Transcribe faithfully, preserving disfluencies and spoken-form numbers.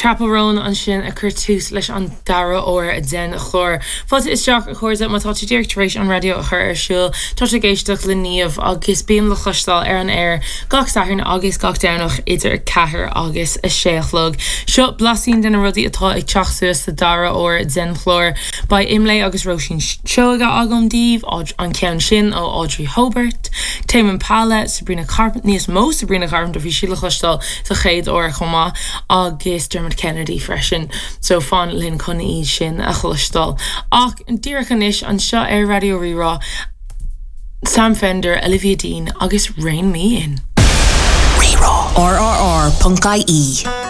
Chappell Roan ansin ag cur tús leis an dara huair den chlár. Fáilte isteach a chairde má tá tú díreach tar éis an raidió a chur ar siúl tá ag éisteacht le Niamh agus bím le cloisteáil ar an aer gach Satharn agus gach Domhnach idir ceathair agus a sé a chlog. Seo blaisín de na rudaí atá ag teacht suas sa dara huair den chlár. Beidh Imlé agus Róisín Seoige agam daoibh an ceann sin ó Audrey Hobart, Tame Impala, Sabrina Carpenter níos mó Sabrina Carpenter bhí sí le cloisteáil sa chéad uair chomh maith agus Dermot Kennedy freisin, so fan linn chun iad sin a chloisteáil. Ach díreach anois anseo ar Raidió Rí-Rá, Sam Fender, Olivia Dean agus Rein Me In. Rí-Rá. RRR.ie